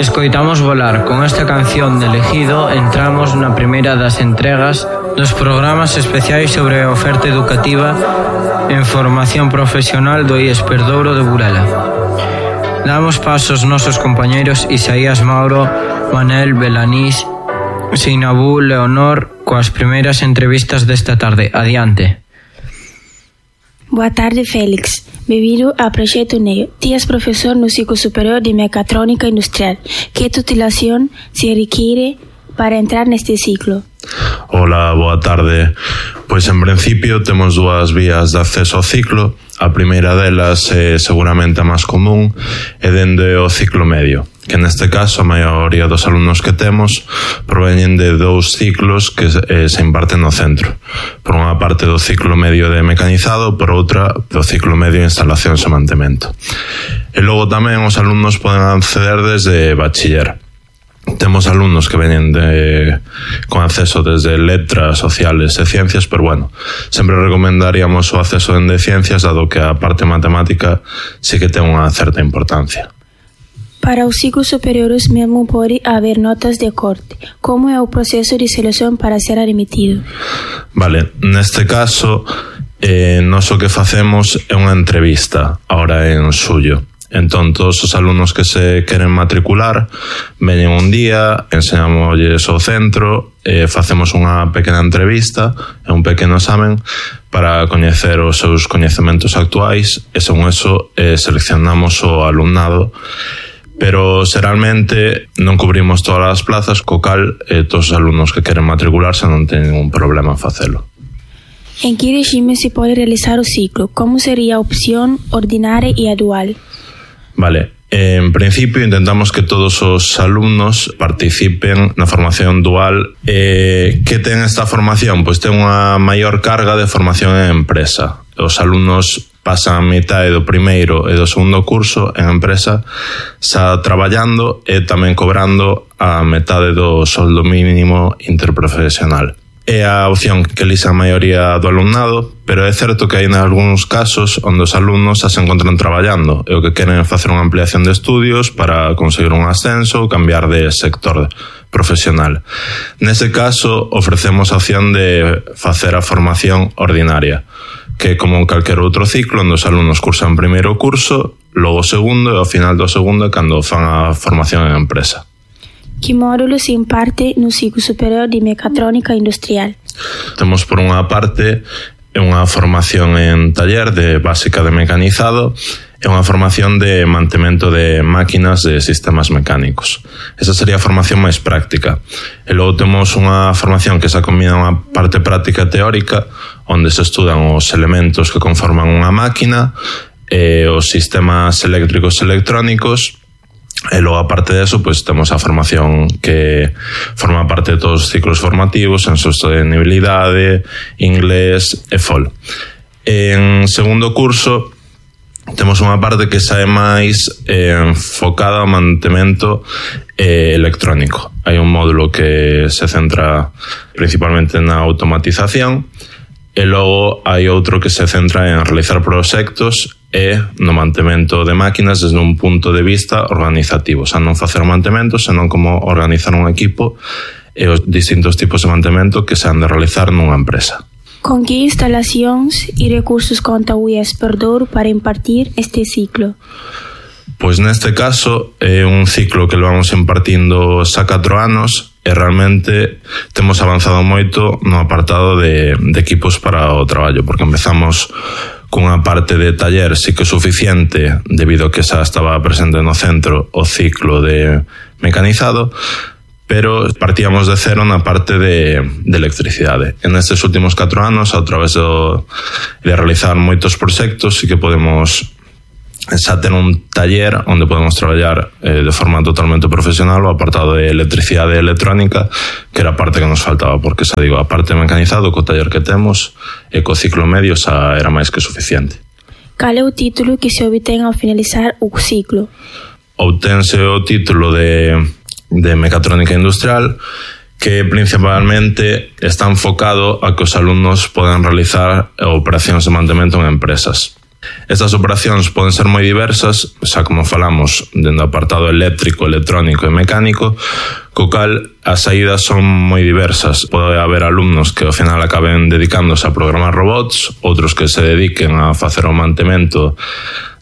Escoitamos Volar. Con esta canción de Elegido entramos na primeira das entregas dos programas especiais sobre a oferta educativa en formación profesional do IES Perdouro de Burela. Damos paso aos nosos compañeiros Isaías Mauro, Manel, Belanís, Seinabú, Leonor, coas primeiras entrevistas desta tarde. Adiante. Boa tarde, Félix. Bem-vindo ao Projeto NEO. Ti és professor no ciclo superior de Mecatrônica Industrial. Que titulação se requiere para entrar neste ciclo? Hola, boa tarde. Pois en principio temos dúas vías de acceso ao ciclo. A primeira delas é seguramente a máis común é dende o ciclo medio, que neste caso a maioría dos alumnos que temos proveñen de dous ciclos que se imparten no centro. Por unha parte do ciclo medio de mecanizado, por outra do ciclo medio de instalacións e mantemento. E logo tamén os alumnos poden acceder desde bachiller. Temos alumnos que veñen con acceso desde letras, sociales e ciencias, pero bueno, sempre recomendaríamos o acceso de ciencias, dado que a parte matemática sí que ten unha certa importancia. Para os ciclos superiores mesmo pode haber notas de corte. Como é o proceso de seleción para ser admitido? Vale, neste caso, nós o que facemos é unha entrevista, ahora en xullo. Entón, todos os alumnos que se queren matricular veñen un día, enseñamosles o centro, facemos unha pequena entrevista e un pequeno examen para coñecer os seus coñecementos actuais e, según eso, seleccionamos o alumnado. Pero, xeralmente, non cubrimos todas as plazas, co cal todos os alumnos que queren matricularse non teñen ningún problema en facelo. En que regime se pode realizar o ciclo? Como sería a opción ordinária e a dual? Vale, en principio intentamos que todos os alumnos participen na formación dual. Que ten esta formación? Pois ten unha maior carga de formación en empresa. Os alumnos pasan a mitad do primeiro e do segundo curso en empresa, xa traballando e tamén cobrando a metade do soldo mínimo interprofesional. É a opción que elixe a maioría do alumnado, pero é certo que hai algúns casos onde os alumnos xa se encontran traballando e o que queren é facer unha ampliación de estudios para conseguir un ascenso ou cambiar de sector profesional. Nese caso, ofrecemos a opción de facer a formación ordinaria, que é como calquer outro ciclo onde os alumnos cursan primeiro curso, logo segundo e ao final do segundo cando fan a formación en empresa. Que módulo se imparte no ciclo superior de Mecatrônica Industrial? Temos por unha parte unha formación en taller de básica de mecanizado e unha formación de mantemento de máquinas de sistemas mecánicos. Esa sería a formación máis práctica. E logo temos unha formación que se combina unha parte práctica teórica onde se estudan os elementos que conforman unha máquina, os sistemas eléctricos e electrónicos. E logo, aparte de eso, pues, temos a formación que forma parte de todos os ciclos formativos en sostenibilidade, inglés e FOL. En segundo curso temos unha parte que xa é máis enfocada ao mantemento electrónico. Hai un módulo que se centra principalmente na automatización e logo hai outro que se centra en realizar proxectos e no mantemento de máquinas desde un punto de vista organizativo, xa non facer o mantemento, senón como organizar un equipo e os distintos tipos de mantemento que se han de realizar nunha empresa. Con que instalacións e recursos conta o IES Perdouro para impartir este ciclo? Pois neste caso é un ciclo que lo vamos impartindo xa 4 anos e realmente temos avanzado moito no apartado de equipos para o traballo, porque empezamos cunha parte de taller sí que é suficiente debido a que xa estaba presente no centro o ciclo de mecanizado, pero partíamos de cero na parte de electricidade. En estes últimos 4 anos, a través de realizar moitos proxectos, sí que podemos xa ter un taller onde podemos traballar de forma totalmente profesional o apartado de electricidade e electrónica, que era a parte que nos faltaba, porque xa digo, a parte mecanizado co taller que temos e co ciclo medio xa era máis que suficiente. Cal é o título que se obtén ao finalizar o ciclo? Obtense o título de Mecatrónica Industrial, que principalmente está enfocado a que os alumnos podan realizar operacións de mantemento en empresas. Estas operacións poden ser moi diversas, xa como falamos, dentro do apartado eléctrico, electrónico e mecánico, co cal as saídas son moi diversas. Pode haber alumnos que ao final acaben dedicándose a programar robots, outros que se dediquen a facer o mantemento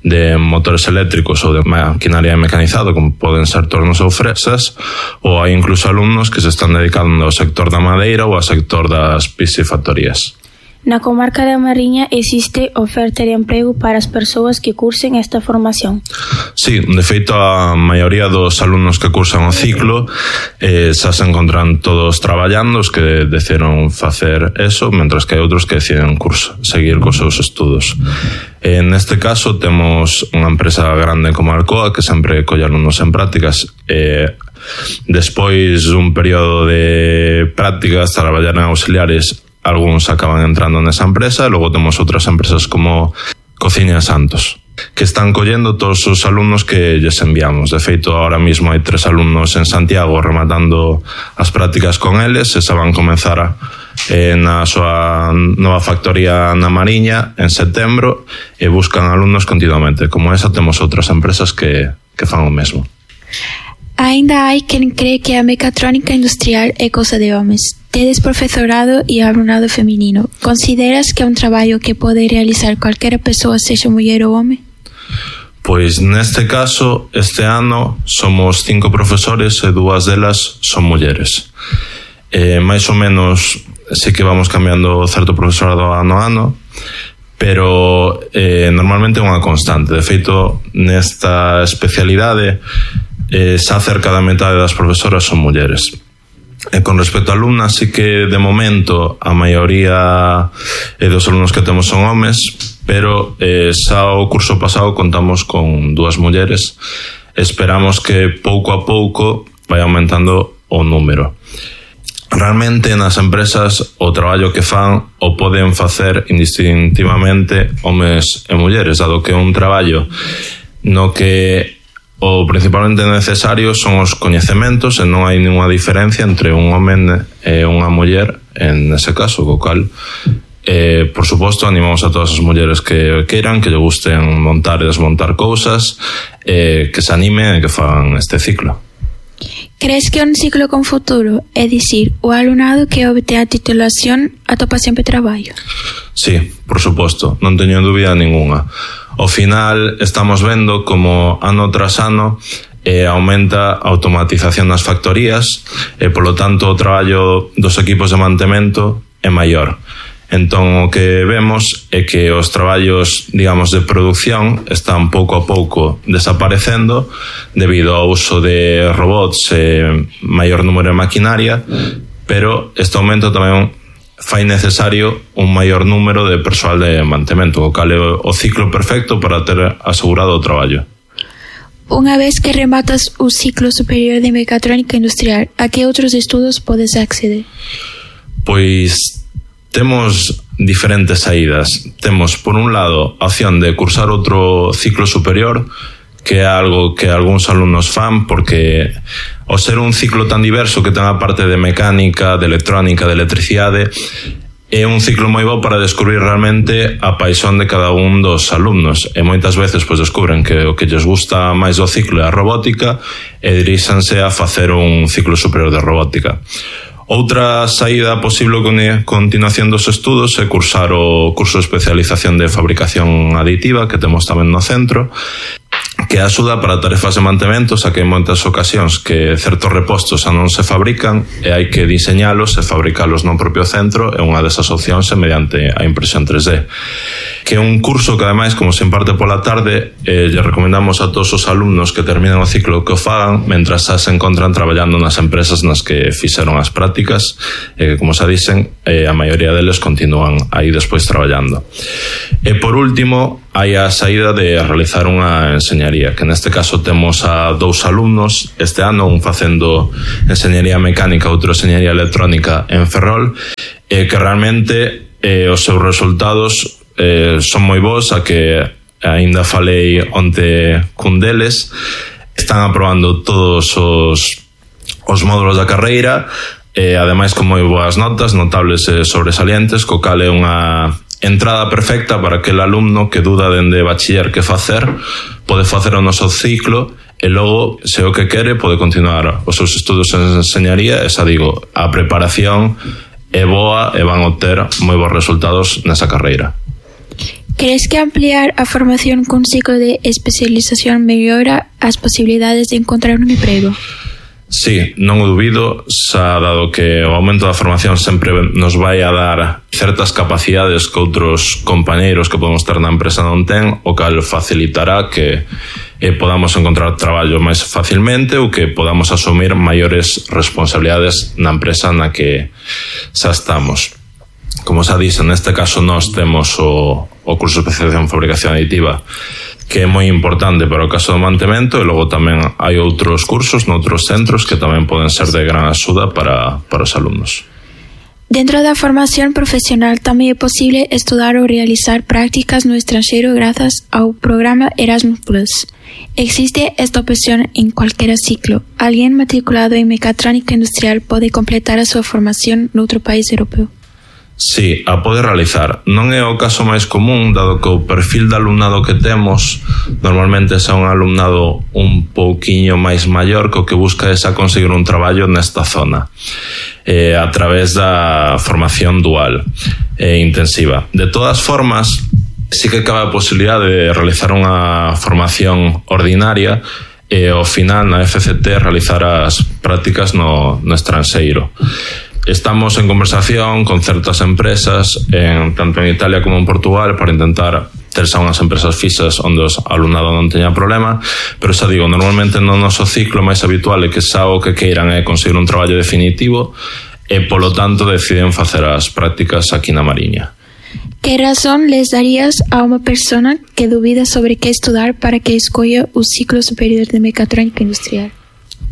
de motores eléctricos ou de maquinaria mecanizada, como poden ser tornos ou fresas, ou hai incluso alumnos que se están dedicando ao sector da madeira ou ao sector das piscifactorías. Na comarca da Mariña existe oferta de emprego para as persoas que cursen esta formación? Sí, de feito a maioría dos alumnos que cursan o ciclo xa se encontran todos traballando, os que decidiron facer eso, mentras que hai outros que deciden seguir cos seus estudos. Neste caso temos unha empresa grande como Alcoa que sempre colle alumnos en prácticas despois dun período de prácticas, traballar en auxiliares. Algúns acaban entrando nesa empresa e logo temos outras empresas como Cociña Santos que están collendo todos os alumnos que lles enviamos. De feito, ahora mismo hai 3 alumnos en Santiago rematando as prácticas con eles e se van comenzar na súa nova factoría na Mariña en setembro e buscan alumnos continuamente. Como esa temos outras empresas que fan o mesmo. Ainda hai quen cree que a mecatrónica industrial é cousa de homes. Tedes profesorado e alumnado feminino. Consideras que é un traballo que pode realizar calquera persoa, sexa muller ou home? Pois neste caso, este ano somos 5 profesores e 2 delas son mulleres. Mais ou menos sí que vamos cambiando certo profesorado ano a ano, pero normalmente é unha constante. De feito, nesta especialidade xa cerca da metade das profesoras son mulleres. E con respecto a alumnas, sí que de momento a maioría dos alumnos que temos son homes, pero xa o curso pasado contamos con 2 mulleres. Esperamos que pouco a pouco vai aumentando o número. Realmente nas empresas o traballo que fan o poden facer indistintivamente homes e mulleres, dado que é un traballo no que o principalmente necesario son os coñecementos e non hai ninguna diferencia entre un home e unha muller en ese caso, co cal por suposto animamos a todas as mulleres que queiran, que lle gusten montar e desmontar cousas, que se animen e que fagan este ciclo. Crees que é un ciclo con futuro? É dicir, o alumnado que obte a titulación atopa sempre traballo? Sí, por suposto, non teño dúbida ninguna. Ao final estamos vendo como ano tras ano aumenta a automatización nas factorías e polo tanto o traballo dos equipos de mantemento é maior. Entón o que vemos é que os traballos, digamos, de producción están pouco a pouco desaparecendo debido ao uso de robots e maior número de maquinaria, pero este aumento tamén fai necesario un maior número de persoal de mantemento, o cal é o ciclo perfecto para ter asegurado o traballo. Unha vez que rematas o ciclo superior de mecatrónica industrial, a que outros estudos podes acceder? Pois temos diferentes saídas. Temos, por un lado, a opción de cursar outro ciclo superior, que é algo que algúns alumnos fan, porque ao ser un ciclo tan diverso que ten a parte de mecánica, de electrónica, de electricidade, é un ciclo moi bo para descubrir realmente a paixón de cada un dos alumnos. E moitas veces pois descubren que o que lles gusta máis do ciclo é a robótica e diríxanse a facer un ciclo superior de robótica. Outra saída posible con continuación dos estudos é cursar o curso de especialización de fabricación aditiva que temos tamén no centro, que axuda para tarefas de mantemento, xa que en moitas ocasións que certos repostos xa non se fabrican e hai que diseñalos e fabricalos no propio centro, e unha desas opcións é mediante a impresión 3D. Que é un curso que ademais, como se imparte pola tarde, lle recomendamos a todos os alumnos que terminen o ciclo que o fagan mentras xa se encontran traballando nas empresas nas que fixeron as prácticas e que, como xa dicen, a maioría deles continúan aí despois traballando. E por último, hai a saída de realizar unha enseñaría, que neste caso temos a 2 alumnos este ano, un facendo enseñaría mecánica, outro enseñaría electrónica en Ferrol, e que realmente os seus resultados son moi bons, a que aínda falei onte cun deles, están aprobando todos os módulos da carreira, ademais con moi boas notas, notables e sobresalientes, co cal é unha entrada perfecta para aquel alumno que duda dende bachiller que facer, pode facer o noso ciclo e logo, se o que quere, pode continuar os seus estudos en enseñaría. E xa digo, a preparación é boa e van obter moi bons resultados nesa carreira. ¿Crees que ampliar a formación con ciclo de especialización mellora as posibilidades de encontrar un emprego? Sí, non o dubido, xa dado que o aumento da formación sempre nos vai a dar certas capacidades que outros compañeiros que podemos ter na empresa non ten, o cal facilitará que podamos encontrar traballo máis facilmente ou que podamos asumir maiores responsabilidades na empresa na que xa estamos. Como xa dixen, neste caso nós temos o curso de especialización en fabricación aditiva, que é moi importante para o caso do mantemento, e logo tamén hai outros cursos noutros centros que tamén poden ser de gran axuda para os alumnos. Dentro da formación profesional tamén é posible estudar ou realizar prácticas no estranxeiro grazas ao programa Erasmus+. Existe esta opción en cualquiera ciclo. Alguén matriculado en mecatrónica industrial pode completar a súa formación noutro país europeo? Sí, a pode realizar. Non é o caso máis común, dado que o perfil de alumnado que temos normalmente é un alumnado un pouquiño máis maior que o que busca é xa conseguir un traballo nesta zona a través da formación dual intensiva. De todas formas, sí que cabe a posibilidade de realizar unha formación ordinaria e ao final na FCT realizar as prácticas no estranxeiro. Estamos en conversación con certas empresas, tanto en Italia como en Portugal, para intentar ter xa unhas empresas fixas onde o alumnado non teña problema, pero xa digo, normalmente no noso ciclo máis habitual é que xa o que queiran é conseguir un traballo definitivo e, polo tanto, deciden facer as prácticas aquí na Mariña. Que razón les darías a unha persona que dubida sobre que estudar para que escolla o ciclo superior de mecatrónica industrial?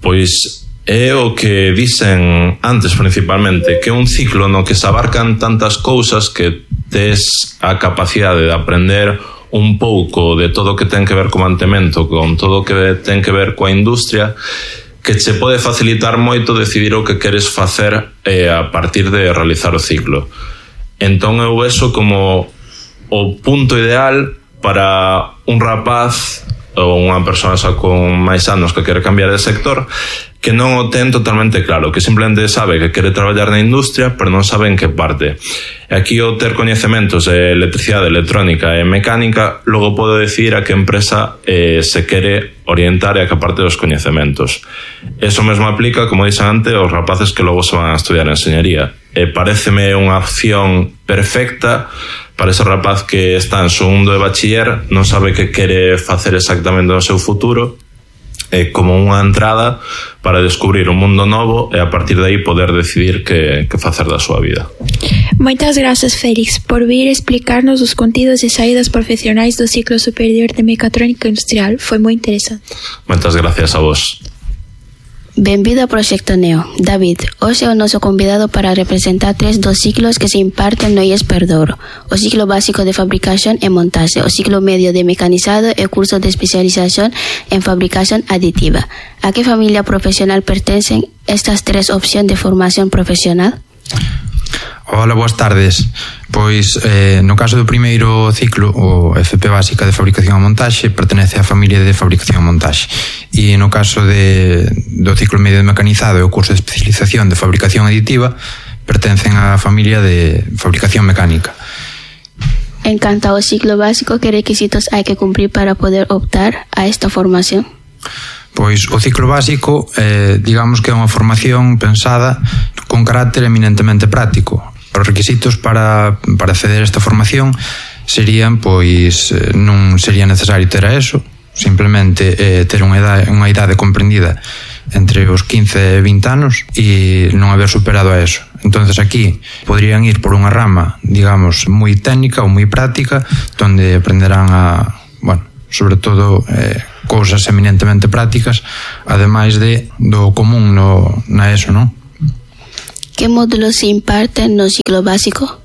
Pois é o que dicen antes principalmente, que é un ciclo no que se abarcan tantas cousas que tes a capacidade de aprender un pouco de todo o que ten que ver co mantemento, con todo o que ten que ver coa industria, que che pode facilitar moito decidir o que queres facer a partir de realizar o ciclo. Entón eu eso como o punto ideal para un rapaz ou unha persoa xa con máis anos que quere cambiar de sector, que non o ten totalmente claro, que simplemente sabe que quere traballar na industria, pero non sabe en que parte. E aquí o ter coñecementos de electricidade, electrónica e mecánica, logo pode decidir a que empresa se quere orientar e a que parte dos coñecementos. Eso mesmo aplica, como dixen antes, aos rapaces que logo se van a estudiar enseñaría. Pareceme unha opción perfecta para ese rapaz que está en segundo de bachiller, non sabe que quere facer exactamente no seu futuro, é como unha entrada para descubrir un mundo novo e a partir de aí poder decidir que facer da súa vida. Moitas grazas, Félix, por vir explicarnos os contidos e saídas profesionais do ciclo superior de mecatrónica industrial. Foi moi interesante. Moitas gracias a vos. Benvido ao Proxecto Neo. David, hoxe é o noso convidado para representar 3 dos ciclos que se imparten no IES Perdouro: o ciclo básico de fabricación e montaxe, o ciclo medio de mecanizado e o curso de especialización en fabricación aditiva. A que familia profesional pertencen estas 3 opcións de formación profesional? Hola, boas tardes. Pois, no caso do primeiro ciclo, o FP básica de fabricación e montaxe pertenece á familia de fabricación e montaxe. E no caso do ciclo medio de mecanizado e o curso de especialización de fabricación aditiva pertencen á familia de fabricación mecánica. En canto ao ciclo básico, que requisitos hai que cumprir para poder optar a esta formación? Pois o ciclo básico, digamos que é unha formación pensada con carácter eminentemente práctico. Os requisitos para acceder a esta formación serían, pois, non sería necesario ter a ESO, simplemente ter unha idade comprendida entre os 15 e 20 anos e non haber superado a ESO. Entonces aquí podrían ir por unha rama, digamos, moi técnica ou moi práctica, donde aprenderán sobre todo cousas eminentemente prácticas, ademais do común na ESO, non? Que módulos se imparten no ciclo básico?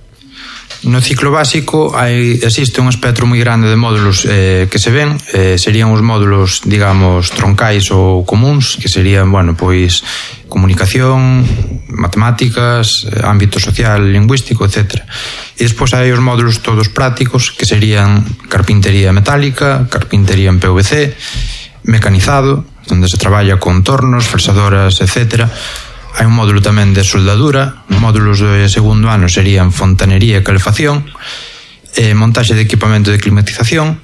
No ciclo básico existe un espectro moi grande de módulos que se ven, serían os módulos, digamos, troncais ou comuns, que serían, bueno, pois comunicación, matemáticas, ámbito social, lingüístico, etc. E despois hai os módulos todos prácticos, que serían carpintería metálica, carpintería en PVC, mecanizado, onde se traballa con tornos, fresadoras, etc. Hai un módulo tamén de soldadura. Módulos de segundo ano serían fontanería e calefacción, montaxe de equipamento de climatización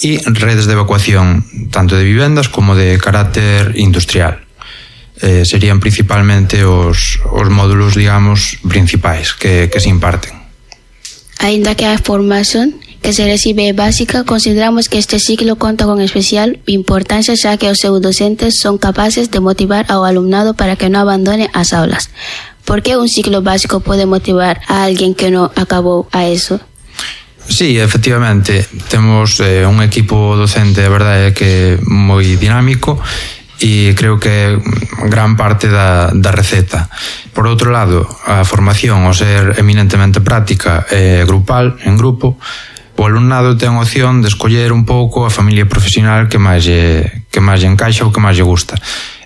e redes de evacuación, tanto de vivendas como de carácter industrial. Serían principalmente os módulos, digamos, principais que se imparten. Ainda que a formación que se recibe é básica, consideramos que este ciclo conta con especial importancia, xa que os seus docentes son capaces de motivar ao alumnado para que non abandone as aulas. Por que un ciclo básico pode motivar a alguén que non acabou a eso? Sí, efectivamente, temos un equipo docente, a verdade é que moi dinámico, e creo que gran parte da receta. Por outro lado, a formación, ao ser eminentemente práctica e grupal, en grupo, o alumnado ten a opción de escoller un pouco a familia profesional que máis lle encaixa ou que máis lle gusta.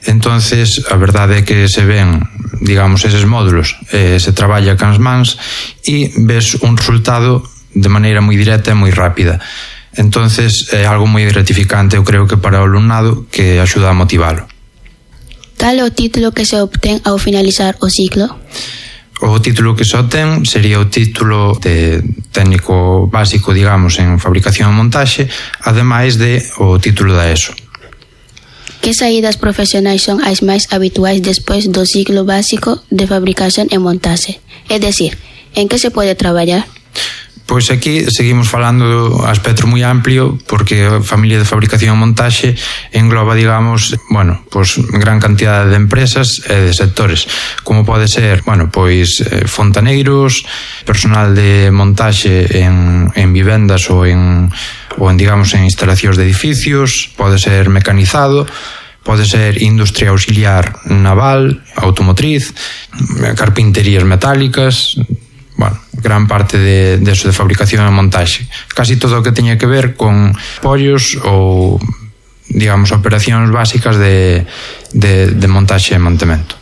Entonces, a verdade é que se ven, digamos, eses módulos, se traballa cans mans e ves un resultado de maneira moi directa e moi rápida. Entonces, é algo moi gratificante, eu creo que para o alumnado, que axuda a motivalo. Cal é o título que se obtén ao finalizar o ciclo? O título que se obtén sería o título de técnico básico, digamos, en fabricación e montaxe, ademais de o título da ESO. Que saídas profesionais son as máis habituais despois do ciclo básico de fabricación e montaxe? É dicir, en que se pode traballar? Pois aquí seguimos falando a espectro moi amplio, porque a familia de fabricación e montaxe engloba, digamos, bueno, pois gran cantidade de empresas e de sectores, como pode ser, bueno, pois fontaneiros, personal de montaxe en vivendas ou en digamos, en instalacións de edificios, pode ser mecanizado, pode ser industria auxiliar naval, automotriz, carpinterías metálicas, bueno, gran parte de eso de fabricación e montaxe. Casi todo o que teña que ver con pollos ou, digamos, operacións básicas de montaxe e mantemento.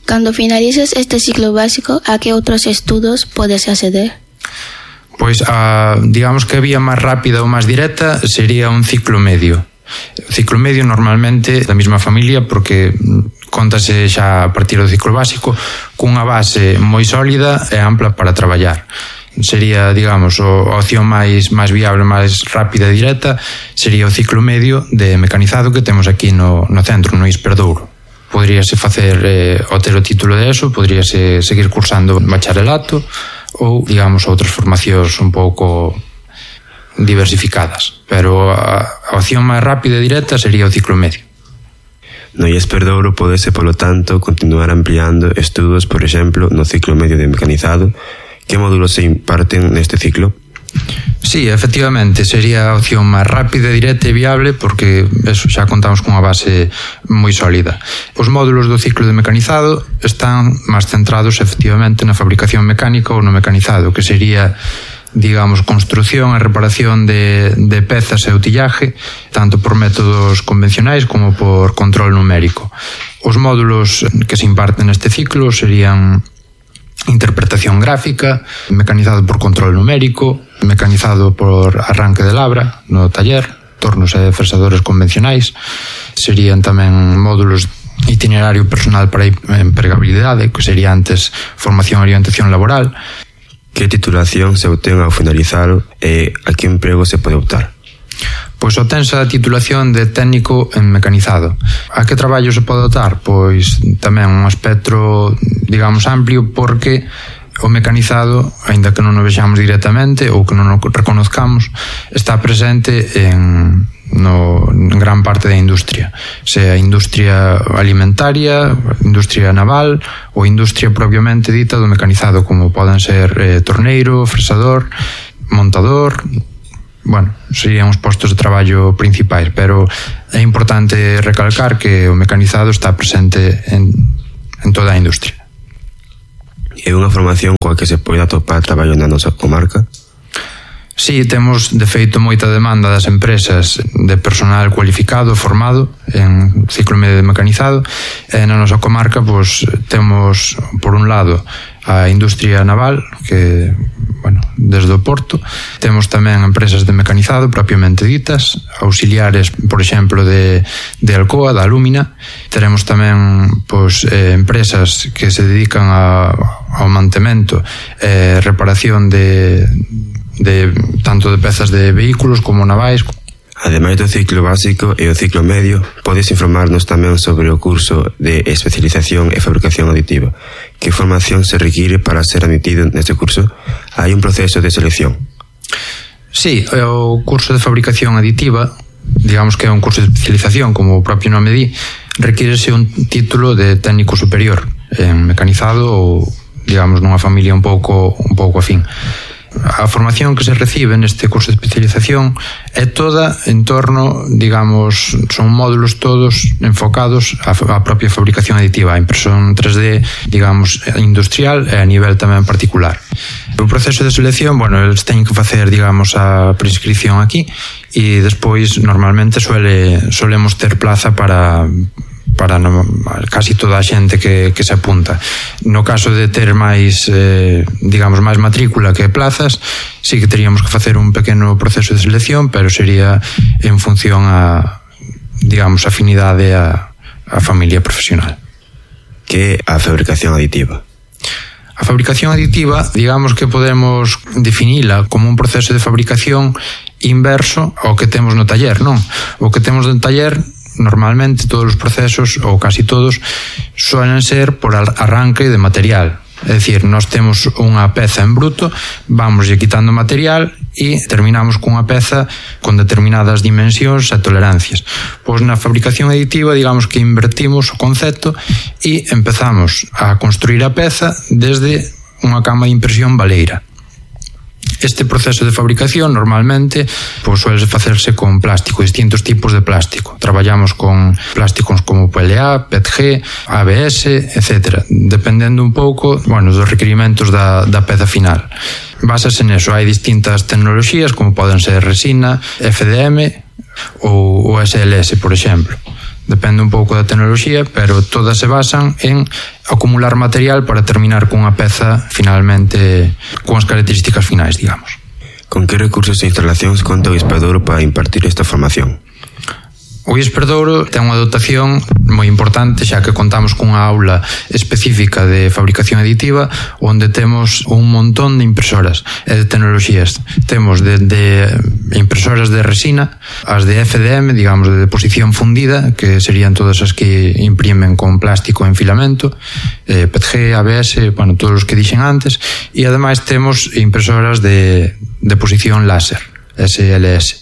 Cando finalices este ciclo básico, a que outros estudos podes acceder? Pois, digamos que a vía máis rápida ou máis directa sería un ciclo medio. O ciclo medio normalmente da mesma familia, porque contase xa a partir do ciclo básico cunha base moi sólida e ampla para traballar. Sería, digamos, a opción máis viable, máis rápida e directa sería o ciclo medio de mecanizado que temos aquí no centro, no Isperdouro. Poderíase facer o ter o título de ESO, poderíase seguir cursando bacharelato ou, digamos, outras formacións un pouco diversificadas, pero a opción máis rápida e directa sería o ciclo medio. No Isperdouro podese, polo tanto, continuar ampliando estudos, por exemplo, no ciclo medio de mecanizado. Que módulos se imparten neste ciclo? Sí, efectivamente, sería a opción máis rápida, directa e viable, porque eso, xa contamos cunha base moi sólida. Os módulos do ciclo de mecanizado están máis centrados efectivamente na fabricación mecánica ou no mecanizado, que sería, digamos, construción e reparación de pezas e utillaje, tanto por métodos convencionais como por control numérico. Os módulos que se imparten neste ciclo serían interpretación gráfica, mecanizado por control numérico, mecanizado por arranque de labra no taller, tornos e fresadores convencionais. Serían tamén módulos itinerario personal para empregabilidade, que sería antes formación e orientación laboral. Que titulación se obtén ao finalizar e a que emprego se pode optar? Pois obtense a titulación de técnico en mecanizado. A que traballo se pode optar? Pois tamén un espectro, digamos, amplio, porque o mecanizado, aínda que non o vexamos directamente ou que non o reconozcamos, está presente en gran parte da industria, sea industria alimentaria, industria naval ou industria propiamente dita do mecanizado, como poden ser torneiro, fresador, montador. Bueno, serían os postos de traballo principais, pero é importante recalcar que o mecanizado está presente en toda a industria. É unha formación coa que se pode atopar traballo na nosa comarca? Sí, temos de feito moita demanda das empresas de personal cualificado, formado en ciclo medio de mecanizado, e na nosa comarca pois, temos por un lado a industria naval, que, bueno, desde o Porto, temos tamén empresas de mecanizado propiamente ditas, auxiliares, por exemplo, de Alcoa, da Alúmina. Teremos tamén pois, empresas que se dedican ao mantemento e reparación de tanto de pezas de vehículos como navais. Ademais do ciclo básico e o ciclo medio, podes informarnos tamén sobre o curso de especialización e fabricación aditiva. Que formación se require para ser admitido neste curso? Hai un proceso de selección? Sí, o curso de fabricación aditiva, digamos que é un curso de especialización, como o propio nome di, requírese un título de técnico superior en mecanizado ou, digamos, nunha familia un pouco afín. A formación que se recibe neste curso de especialización é toda en torno, digamos, son módulos todos enfocados á propia fabricación aditiva, a impresión 3D, digamos, industrial e a nivel tamén particular. O proceso de selección, bueno, eles teñen que facer, digamos, a prescripción aquí e despois normalmente solemos ter plaza para casi toda a xente que se apunta. No caso de ter máis, digamos, máis matrícula que plazas, sí que teríamos que facer un pequeno proceso de selección, pero sería en función a, digamos, afinidade a familia profesional. Que é a fabricación aditiva? A fabricación aditiva, digamos que podemos definila como un proceso de fabricación inverso ao que temos no taller, non? O que temos no taller, normalmente todos os procesos, ou casi todos, suelen ser por arranque de material. É dicir, nós temos unha peza en bruto, vamos quitando material e terminamos cunha peza con determinadas dimensións e tolerancias. Pois na fabricación aditiva, digamos que invertimos o concepto e empezamos a construir a peza desde unha cama de impresión baleira. Este proceso de fabricación normalmente pois, suele facerse con plástico, distintos tipos de plástico. Traballamos con plásticos como PLA, PETG, ABS, etc. Dependendo un pouco, bueno, dos requerimentos da peza final. Básase neso, hai distintas tecnoloxías como poden ser resina, FDM ou SLS, por exemplo. Depende un pouco da tecnoloxía, pero todas se basan en acumular material para terminar cunha peza finalmente con as características finais, digamos. Con que recursos e instalacións conta o IES Perdouro para impartir esta formación? O IES Perdouro ten unha dotación moi importante, xa que contamos cunha aula específica de fabricación aditiva onde temos un montón de impresoras e de tecnoloxías. Temos de impresoras de resina, as de FDM, digamos, de deposición fundida, que serían todas as que imprimen con plástico en filamento, PETG, ABS, bueno, todos os que dixen antes, e ademais temos impresoras de deposición láser, SLS.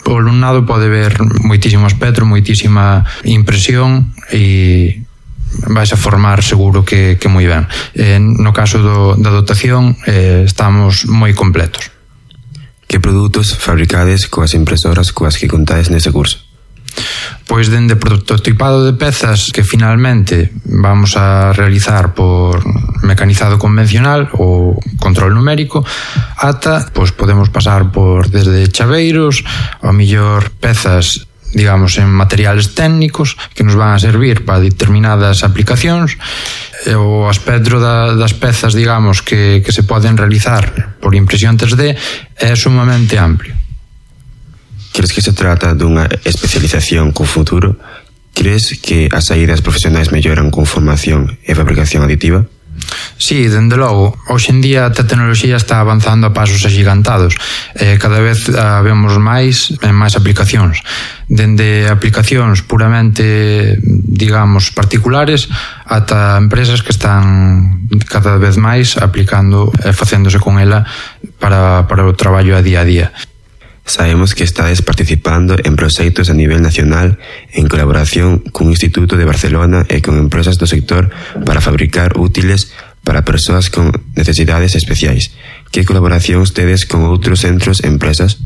O alumnado pode ver moitísimo espectro, moitísima impresión e vais a formar seguro que moi ben. No caso da dotación estamos moi completos. Que produtos fabricades coas impresoras coas que contades neste curso? Pois dende prototipado de pezas que finalmente vamos a realizar por mecanizado convencional ou control numérico, ata, pois podemos pasar por desde chaveiros, ao mellor pezas, digamos, en materiales técnicos que nos van a servir para determinadas aplicacións. O aspecto das pezas, digamos, que se poden realizar por impresión 3D é sumamente amplio. Crees que se trata dunha especialización con futuro? Crees que as saídas profesionais melloran con formación e fabricación aditiva? Sí, dende logo. Hoxe en día a tecnoloxía está avanzando a pasos axigantados. Cada vez vemos máis en máis aplicacións. Dende aplicacións puramente, digamos, particulares ata empresas que están cada vez máis aplicando e facéndose con ela para o traballo a día a día. Sabemos que estades participando en proxectos a nivel nacional en colaboración cun Instituto de Barcelona e con empresas do sector para fabricar útiles para persoas con necesidades especiais. Que colaboracións tedes con outros centros e empresas?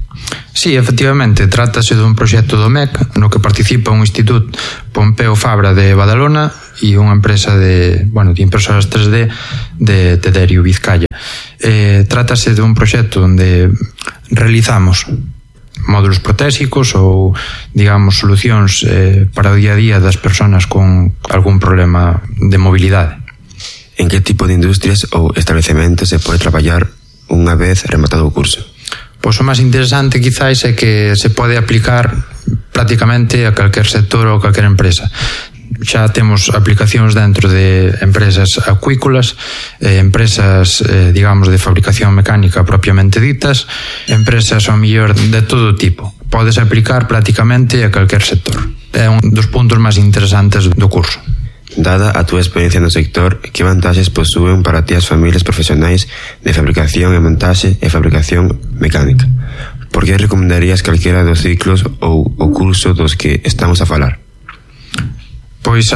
Sí, efectivamente, trátase dun proxecto do MEC no que participa un instituto Pompeu Fabra de Badalona e unha empresa de impresoras 3D de Tederio, Vizcaya. Trátase dun proxecto onde realizamos módulos protésicos ou, digamos, solucións para o día a día das persoas con algún problema de mobilidade. En que tipo de industrias ou establecementos se pode traballar unha vez rematado o curso? Pois o máis interesante quizás é que se pode aplicar prácticamente a calquer sector ou calquer empresa. Xa temos aplicacións dentro de empresas acuícolas, empresas, digamos, de fabricación mecánica propiamente ditas, empresas ao mellor de todo tipo. Podes aplicar prácticamente a calquer sector. É un dos puntos máis interesantes do curso. Dada a túa experiencia no sector, que vantaxes posúen para ti as familias profesionais de fabricación e montaxe e fabricación mecánica? Por que recomendarías calquera dos ciclos ou o curso dos que estamos a falar? Pois,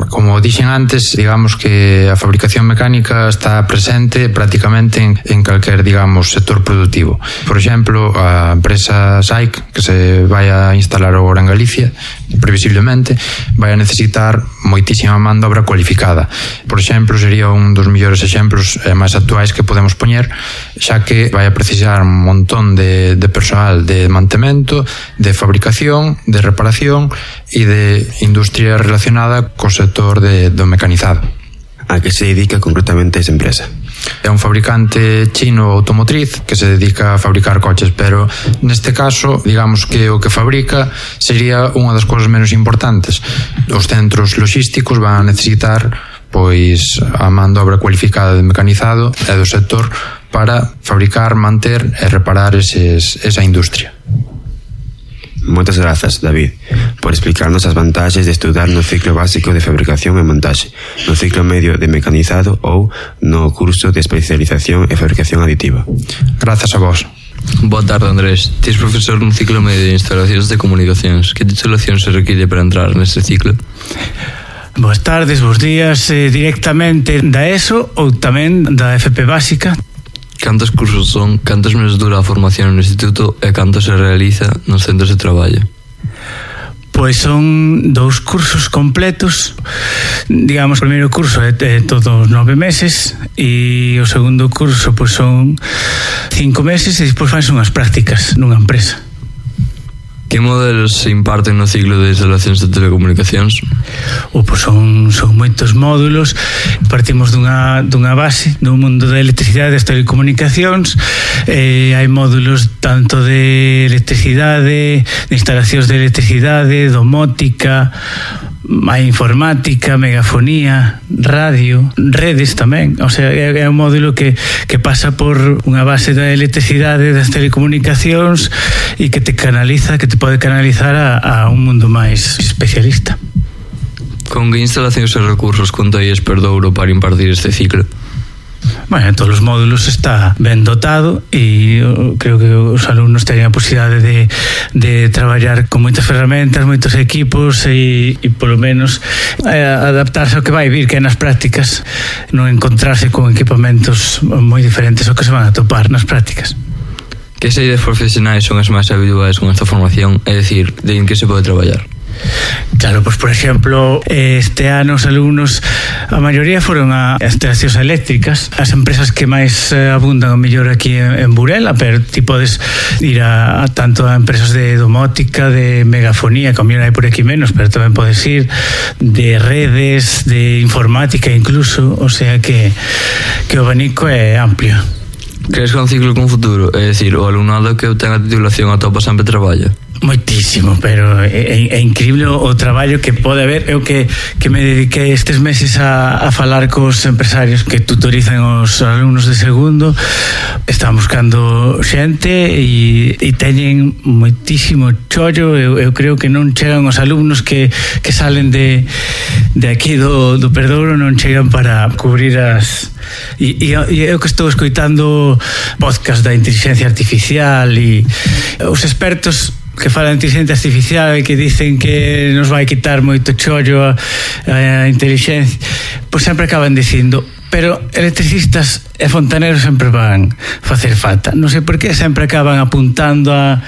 como dixen antes, digamos que a fabricación mecánica está presente prácticamente en calquer, digamos, sector productivo. Por exemplo, a empresa SAIC, que se vai a instalar agora en Galicia, previsiblemente, vai a necesitar moitísima man de obra cualificada. Por exemplo, sería un dos mellores exemplos máis actuais que podemos poñer, xa que vai a precisar un montón de persoal de mantemento, de fabricación, de reparación e de industria relacionada co sector do mecanizado. A que se dedica concretamente esa empresa? É un fabricante chino automotriz que se dedica a fabricar coches, pero neste caso, digamos que o que fabrica sería unha das cousas menos importantes. Os centros logísticos van a necesitar pois a man de obra cualificada de mecanizado e do sector para fabricar, manter e reparar esa industria. Moitas grazas, David, por explicarnos as vantaxes de estudar no ciclo básico de fabricación e montaxe, no ciclo medio de mecanizado ou no curso de especialización e fabricación aditiva. Grazas a vos. Boa tarde, Andrés. Tis profesor no ciclo medio de instalacións de comunicacións. Que titulación se require para entrar neste ciclo? Boas tardes, bos días. Directamente da ESO ou tamén da FP básica. Cantos cursos son, cantos meses dura a formación no instituto e canto se realiza nos centros de traballo? Pois son 2 cursos completos. Digamos, o primeiro curso é todos 9 meses e o segundo curso pois son 5 meses e despois fanse unhas prácticas nunha empresa. Que modelos se imparten no ciclo de instalacións de telecomunicacións? Pois son moitos módulos. Partimos dunha base do mundo da electricidade e das telecomunicacións. Hai módulos tanto de electricidade, de instalacións de electricidade, domótica, hai informática, megafonía, radio, redes tamén. O sea, é un módulo que pasa por unha base da electricidade, das telecomunicacións e que te canaliza, que te pode canalizar a un mundo máis especialista. Con que instalacións e recursos contáis Perdouro para impartir este ciclo? Bueno, en todos os módulos está ben dotado e creo que os alumnos teñen a posibilidade de traballar con moitas ferramentas, moitos equipos e polo menos adaptarse ao que vai vir, que é nas prácticas, non encontrarse con equipamentos moi diferentes ao que se van a topar nas prácticas. Que saídas profesionais son as máis habituais con esta formación? É dicir, de en que se pode traballar? Claro, pois por exemplo, este ano os alumnos, a maioría foron a instalacións eléctricas, as empresas que máis abundan o mellor aquí en Burela, pero ti podes ir a tanto a empresas de domótica, de megafonía, que o mellor hai por aquí menos, pero tamén podes ir de redes, de informática incluso, o sea que o abanico é amplio. Crees que é un ciclo con futuro? É dicir, o alumnado que obtén a titulación atopa sempre traballo? Moitísimo, pero é increíble o traballo que pode haber. Eu que me dediquei estes meses a falar cos empresarios que tutorizan os alumnos de segundo, están buscando xente e teñen moitísimo chollo. Eu creo que non chegan os alumnos que salen de aquí do Perdouro, non chegan para cubrir as... E eu que estou escoitando podcast da inteligencia artificial e os expertos que falan de inteligencia artificial e que dicen que nos vai quitar moito chollo a inteligencia, pois sempre acaban dicindo, pero electricistas e fontaneros sempre van facer falta. Non sei por que sempre acaban apuntando a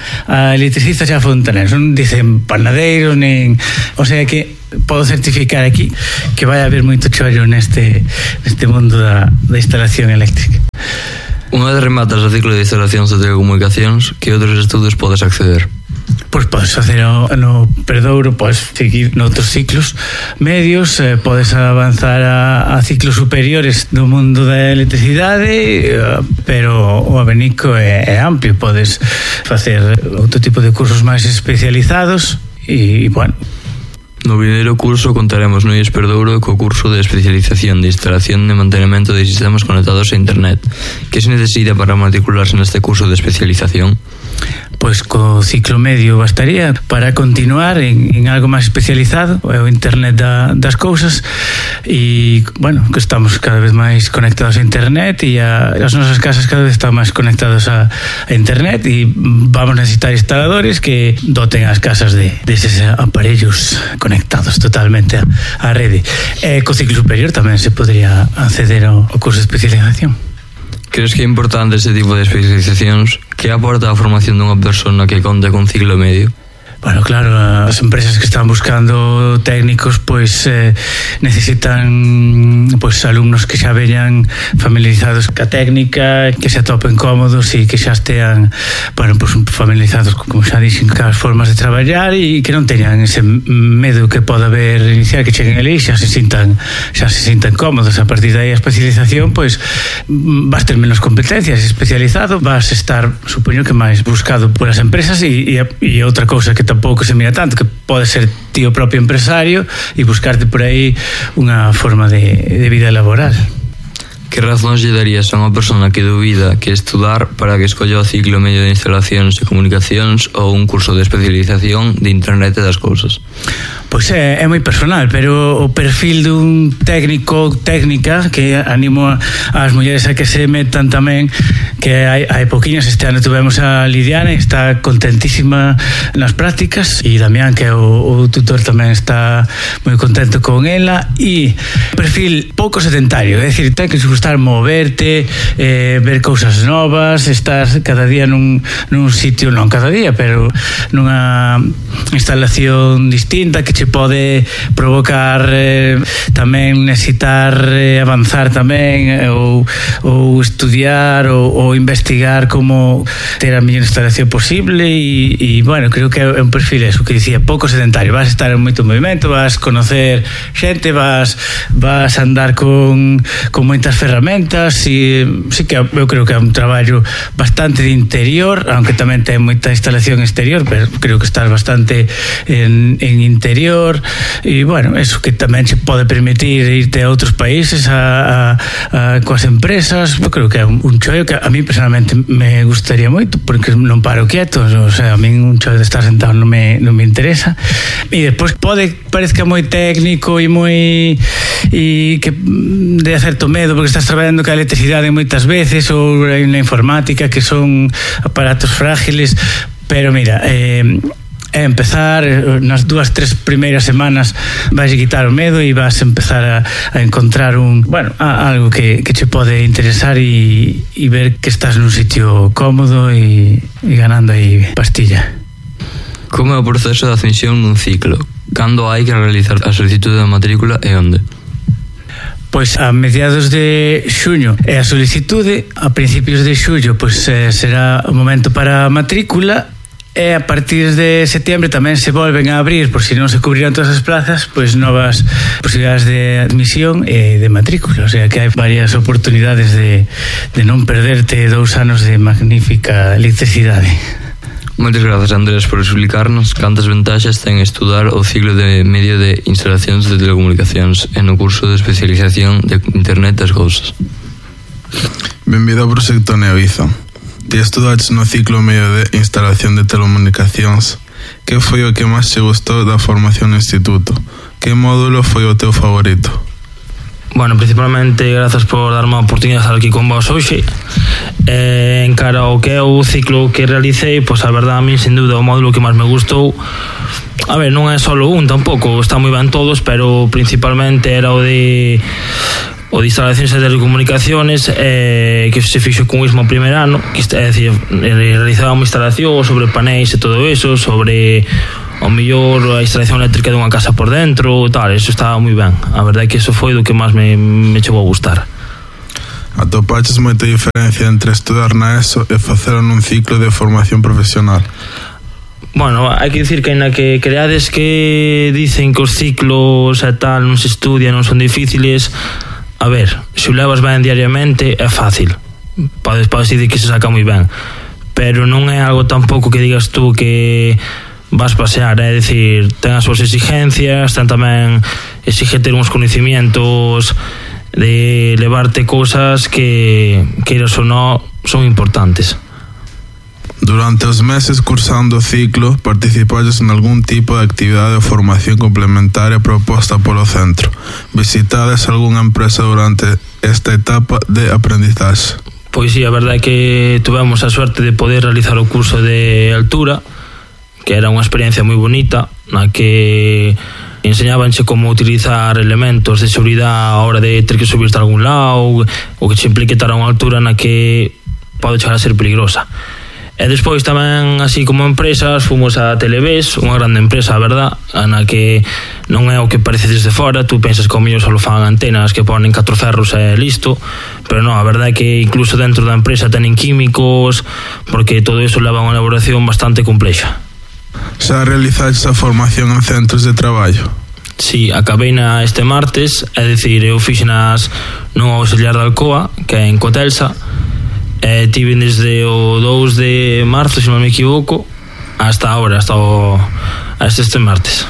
electricistas e a fontaneros. Non dicen panadeiros, nen... O sea que podo certificar aquí que vai haber moito chollo neste mundo da instalación eléctrica. Unha vez rematas o ciclo de instalacións de telecomunicacións, que outros estudos podes acceder? Pois podes facer no Perdouro, podes seguir noutros ciclos medios, podes avanzar a ciclos superiores do mundo da electricidade, pero o abanico é amplio, podes facer outro tipo de cursos máis especializados e, bueno. No primeiro curso contaremos no IES Perdouro co curso de especialización de instalación e mantenimento de sistemas conectados a internet. Que se necesita para matricularse neste curso de especialización? Pois co ciclo medio bastaría para continuar en algo máis especializado, é o internet das cousas, e, bueno, que estamos cada vez máis conectados a internet e as nosas casas cada vez están máis conectados a internet e vamos necesitar instaladores que doten as casas deses aparellos conectados totalmente á rede. E co ciclo superior tamén se podría acceder ao curso de especialización. Crees que é importante ese tipo de especializacións? Que aporta a formación dunha persona que conta con ciclo medio? Bueno, claro, as empresas que están buscando técnicos pois necesitan pois alumnos que xa veñan familiarizados ca técnica, que se atopen cómodos e que xa estean, bueno, pois familiarizados, como xa dixen, cas formas de traballar e que non teñan ese medo que pode haber inicial, que cheguen ali e xa se sintan cómodos. A partir de aí a especialización, pois vas ter menos competencias, especializado, vas estar, supoño que máis buscado polas empresas e outra cousa que tampouco se mira tanto, que pode ser ti o propio empresario e buscarte por aí unha forma de vida laboral. Que razóns lle darías a unha persona que dubida que estudar para que escolla o ciclo medio de instalacións e comunicacións ou un curso de especialización de internet e das cousas? Pois é moi personal, pero o perfil dun técnico ou técnica, que animo ás mulleres a que se metan tamén, que hai pouquiñas. Este ano tuvemos a Lidiane, está contentísima nas prácticas, e Damián, que é o tutor, tamén está moi contento con ela. E perfil pouco sedentario, é dicir, ten que gustar moverte, ver cousas novas, estar cada día nun sitio, non cada día, pero nunha instalación distinta que che pode provocar tamén necesitar avanzar tamén ou estudiar ou investigar como ter a mellor instalación posible e bueno, creo que é un perfil eso que dicía, pouco sedentario. Vas estar en moito movimento, vas conocer xente, vas andar con moitas ferramentas e sí que eu creo que é un traballo bastante de interior, aunque tamén ten moita instalación exterior, pero creo que estás bastante en interior e bueno, eso que tamén se pode permitir irte a outros países coas empresas. Eu creo que é un chollo que a mí personalmente me gustaría moito, porque non paro quieto, o sea, a mí un chollo de estar sentado non me interesa. E despois parezca moi técnico e moi que de certo medo porque estás traballando ca electricidade moitas veces ou na informática, que son aparatos frágiles, pero mira, empezar nas 2-3 primeiras semanas vais a quitar o medo e vas a empezar a encontrar algo que che pode interesar e ver que estás nun sitio cómodo e ganando aí pastilla. Como é o proceso de admisión nun ciclo? Cando hai que realizar a solicitude de matrícula e onde? Pois a mediados de xuño é a solicitude, a principios de xullo pois será o momento para a matrícula. E a partir de setembro tamén se volven a abrir, por si non se cubriran todas as plazas, pois novas posibilidades de admisión e de matrícula. O sea que hai varias oportunidades de non perderte 2 anos de magnífica electricidade. Moitas grazas, Andrés, por explicarnos cantas ventaxas ten estudar o ciclo de medio de instalacións de telecomunicacións e no curso de especialización de internet das cousas. Benvido ao proxecto Neoiza. Ti estudaches no ciclo medio de instalación de telecomunicacións. Que foi o que máis te gustou da formación no instituto? Que módulo foi o teu favorito? Bueno, principalmente grazas por darme a oportunidade de estar aquí con vos hoxe. En cara ao que é o ciclo que realicei, pois a verdade a mí sin dúbida o módulo que máis me gustou, a ver, non é só un tampouco, está moi ben todos, pero principalmente era o de instalacións de telecomunicaciones, que se fixo con o mismo primeiro ano, que é dicir, realizaba unha instalación sobre panéis e todo eso, sobre ao mellor a instalación eléctrica dunha casa por dentro, tal, eso estaba moi ben. A verdade é que eso foi do que máis me chegou a gustar. Atopaches moita diferencia entre estudar na ESO e facer nun ciclo de formación profesional? Bueno, hai que dicir que ainda que creades que dicen que os ciclos e tal non se estudian, non son difíciles, a ver, se o levas ben diariamente é fácil, podes dicir que se saca moi ben, pero non é algo tampouco que digas tú que vas pasear, é dicir, ten as súas exigencias, ten tamén exige ter uns conhecimientos de levarte cousas que, queiras ou non, son importantes. Durante os meses cursando o ciclo, participades en algún tipo de actividade ou formación complementaria proposta polo centro. Visitades algunha empresa durante esta etapa de aprendizaxe? Pois sí, a verdade é que tuvemos a suerte de poder realizar o curso de altura, que era unha experiencia moi bonita, na que enseñábanche como utilizar elementos de seguridade a hora de ter que subirte a algún lado, ou que che implique estar a unha altura na que pode chegar a ser peligrosa. E despois tamén, así como empresas, fomos a Televes, unha grande empresa, a verdad, na que non é o que parece desde fora, tú pensas que ao mellor só fan antenas que ponen 4 ferros e listo, pero non, a verdade é que incluso dentro da empresa tenen químicos, porque todo iso leva a unha elaboración bastante complexa. Xa realizaste a formación en centros de traballo? Sí, acabei este martes, é dicir, eu fixenas no auxiliar de Alcoa, que é en Cotelsa, e tive desde o 2 de marzo, se non me equivoco, hasta ahora, hasta este martes.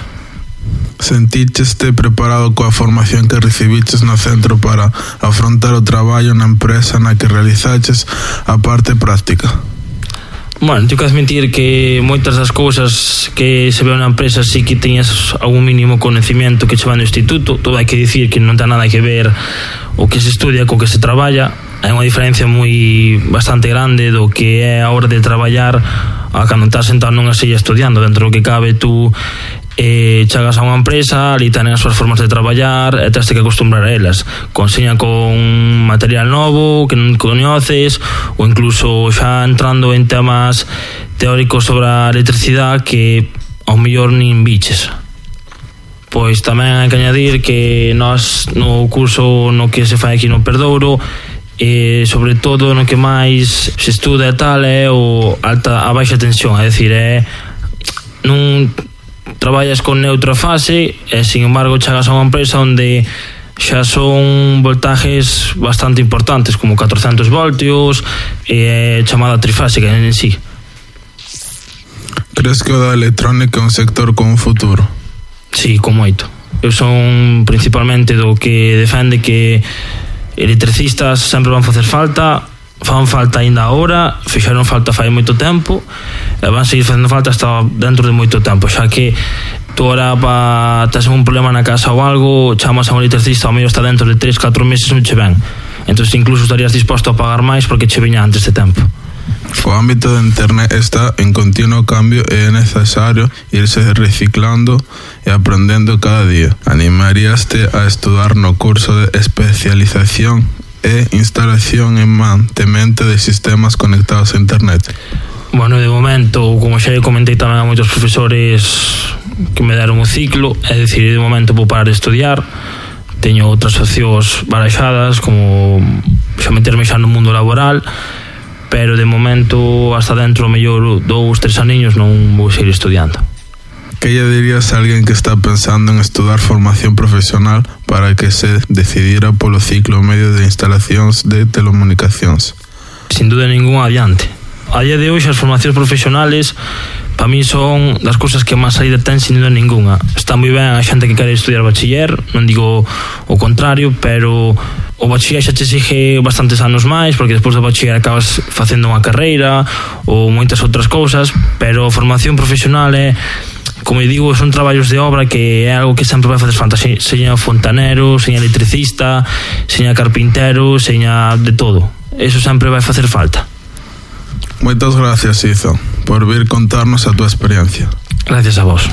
Senticheste preparado coa formación que recibiches no centro para afrontar o traballo na empresa na que realizaches a parte práctica? Bueno, tengo que admitir que moitas das cousas que se ve na empresa sí que teñas algún mínimo conhecimento que che van do instituto. Todo hai que dicir que non ten nada que ver o que se estudia co que se traballa. Hai unha diferencia bastante grande do que é a hora de traballar a cando estás sentado nunha silla estudiando. Dentro do que cabe, tú chegas a unha empresa, ali tenen as súas formas de traballar e tens que acostumbrar a elas. Conseñan con material novo que non coñeces, ou incluso xa entrando en temas teóricos sobre a electricidade que ao mellor nin biches. Pois tamén hai que añadir que nós no curso no que se fai aquí no Perdouro, sobre todo no que máis se estuda e tal é a baixa tensión, é dicir, non traballas con neutra fase e sin embargo chegas a unha empresa onde xa son voltajes bastante importantes, como 400 voltios e chamada trifásica en sí. Crees que o da electrónica é un sector con un futuro? Sí, con moito. Eu son principalmente do que defende que electricistas sempre van facer falta, fan falta ainda agora, fixeron falta fai moito tempo e van seguir facendo falta hasta dentro de moito tempo, xa que tú ahora tes un problema na casa ou algo, chamas a un electricista, ao medio está dentro de 3-4 meses non che ven, entón incluso estarías disposto a pagar máis porque che viña antes de tempo. O ámbito de internet está en continuo cambio e é necesario irse reciclando e aprendendo cada día. Animaríaste a estudar no curso de especialización e instalación e mantemento de sistemas conectados a internet? Bueno, de momento, como xa comentei tamén a moitos profesores que me deron o ciclo, é dicir, de momento vou parar de estudiar, teño outras opcións baraxadas, como xa meterme xa no mundo laboral, pero de momento hasta dentro mellor 2-3 aniños non vou seguir estudiando. Que lle dirías a alguén que está pensando en estudar formación profesional para que se decidira polo ciclo medio de instalacións de telecomunicacións? Sin duda ningún adiante. A día de hoxe as formacións profesionales para mí son das cousas que máis saída ten sin duda ninguna. Está moi ben a xente que quere estudiar bachiller, non digo o contrario, pero o bachiller xa te exige bastantes anos máis, porque despois do bachiller acabas facendo unha carreira ou moitas outras cousas, pero a formación profesional é como eu digo, son traballos de obra que é algo que sempre vai facer falta, seña fontanero, seña electricista, seña carpintero, seña de todo. Eso sempre vai facer falta. Moitas gracias, Izo, por vir contarnos a túa experiencia. Gracias a vos.